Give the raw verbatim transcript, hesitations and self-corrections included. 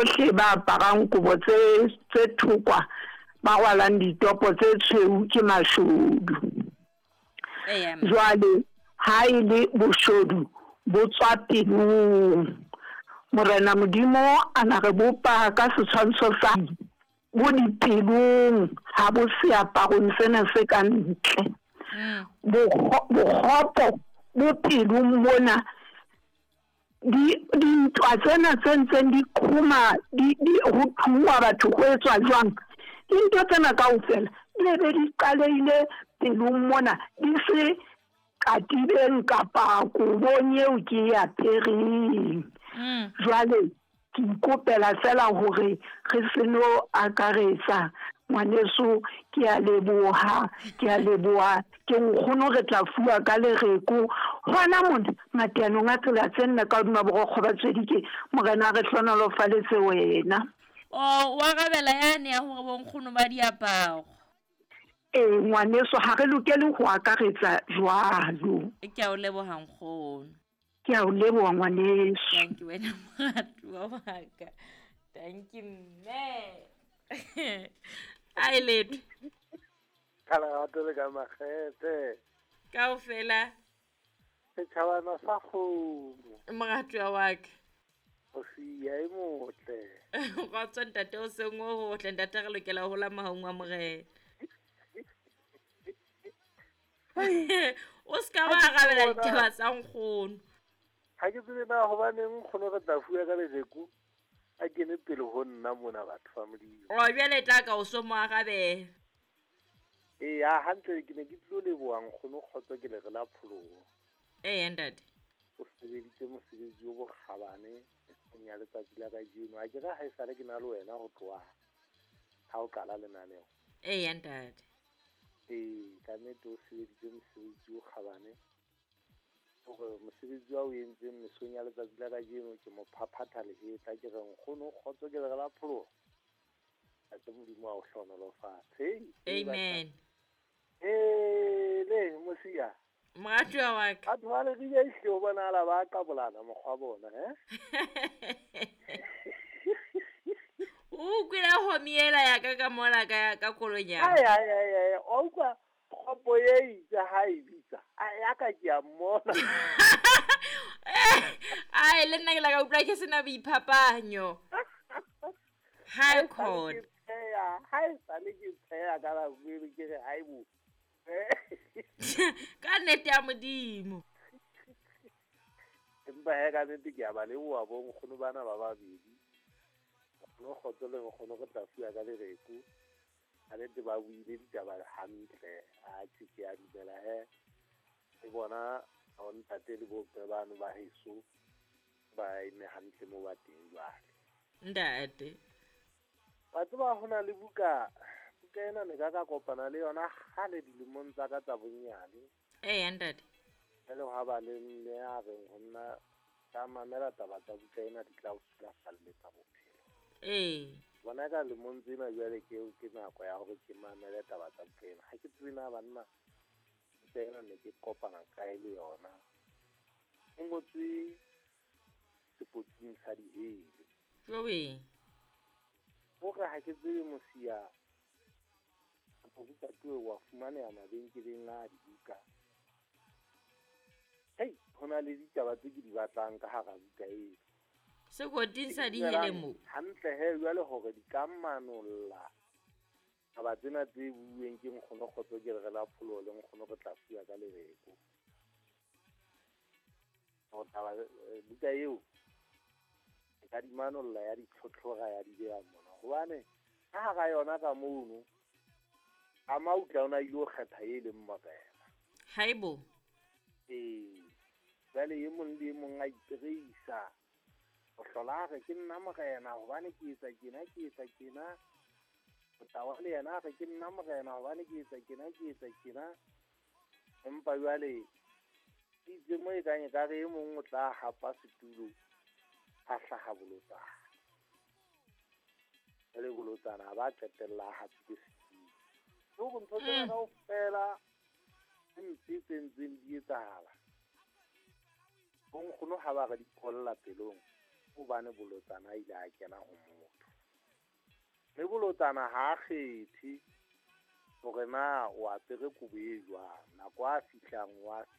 bohle ba aparang kobo tse tse thokwa ba rwalang ditopo tse tshweu ke mashodu. Jwale ha e le boshodu bo tswa pelong. Morena Modimo a na re bopa ka setshwantsho sa bo dipelong, ha bo seaparong sena se ka ntle. Bokgopo bo pelong mona, di dintwa tsena tse ntseng di qhoma, di di ho thungwa batho ho etswa jwang, dintho tsena kaofela di be di qalehile pelong mona, di se katibeng kapa kobong eo ke e apereng. Jwale ke ikopela fela hore re se no akaretsa ngwaneso. Ke a leboha, ke a leboha, ke nkgono re tla fuwa ka lereko hona mona mateanong a tsela tse nne ka hodima borokgo ba Tswedike. Morena a re hlohonolofaletse wena. O wa arabela yane ya hore bonkgono ba diaparo. Ee ngwaneso, ha re lokele ho akaretsa jwalo. Ke a o leboha nkgono. Ke a o leboha ngwaneso. Thank you wena moratuwa wa ka. Thank you mme. Ai letho. Ka lerato le ka makgethe. Kaofela. Setjhabana sa kgomo. Moratuwa wa ka. O siya e motle. Kgotso ntate, o seng o hotle ntate, re lokela ho hola mahaung a Morena. O ska ba arabela ditaba tsa nkgono. Ha ke tsebe na hobaneng nkgono re tla fuwa ka lejeko a kene pele ho nna mona batho ba Modimo. O jwale tla ka o so mo arabela. Ee, ha hantle ke ne ke tlo leboha nkgono Kgotso ke le re la pholoho. Ee ntate. O sebeditse mosebetsi o bokgabane ya letsatsi la kajeno. A ke re ha esale ke na le wena ho tloha ha o qala lenaneo. Ee ntate. Ee, ka nnete o sebeditse mosebetsi o kgabane. Hore mosebetsi wa o entseng mesong ya letsatsi la kajeno ke mo phaphatha lehetla, ke re nkgono Kgotso ke le re la pholoho. Ntate Modimo a o hlohonolofatse. Amen. Ee, le mosia. Moratuwa wa ka. Batho ba Leribe ehlile ho bonahala ba qabolana mokgwa bona, eh? O kwele homi ela ya ka ka mola ka ka koloi ya. Ai ai ai ai, o utlwa kgopo e itse ha e bitsa. Ai ya ka ke a mmona. Ai le nna ke la ka utlwa ke sena boiphapanyo. High court. Ha e sale ke tsheya ka la bue ke re hai bo. Ka nnete ya Modimo. Empa he ka nnete ke a ba leboha bo nkgono bana ba babedi. Nkgono Kgotso le nkgono re tla fuwa ka lereko. Ka nnete ba buile ditaba hantle. Atjhe ke a dumela he. Le bona ntate le bomme bano ba heso ba eme hantle mo ba teng jwale. Ntate. Wa tseba ho na le buka, buka ena ne ka ka kopana le yona kgale dilemong tsa ka tsa bonyane. Ee ntate. Jwale ha ba le mme a reng ho nna ka mamela taba tsa buka ena di tla o sulafalletsa bophelo. Ee. Bona ka lemong tsena jwale ke ke nako ya hore ke mamele taba tsa buka ena. Ha ke tsebe na banna buka ena ne ke kopana kae le yona. E ngotswe sepotsing sa dihele. Jowe. Hore ha ke tsebe mosia buka tuwe wa fumaneha mabenkeleng a dibuka. Hei, ho na le ditaba tse ke di batlang ka hara buka eo. Sekoting sa dihele mo. Hantle he jwale hore di ka manolla taba tsena tse buuweng ke nkgono Kgotso ke re la pholoho le nkgono re tla fuwa ka lereko. Hore taba buka eo e ka di manolla ya ditlhotlhora ya di beha mona. Hobane ka hara yona ka mono a mautla ona ile ho kgetha e leng morena. Haibo. Ee, jwale e mong le e mong a ipereisa. O hlola a re ke nna morena hobane ke etsa tjena, ke etsa tjena. Motawa le yena a re ke nna morena hobane ke etsa tjena, ke etsa tjena. Empa jwale itse mo e kang ekare e mong o tla hapa setulo a hlaha bolotsana. Jwale bolotsana ba qetella a hapile setulo. Hore ntho tsena kaofela tse mpe tse ntseng di etsahala, bo nkgono ha ba re di qolla pelong hobane bolotsana a ile a kena ho motho. bolotsana ha a kgethe hore na o apere kobo e jwang, nako a fihlang wa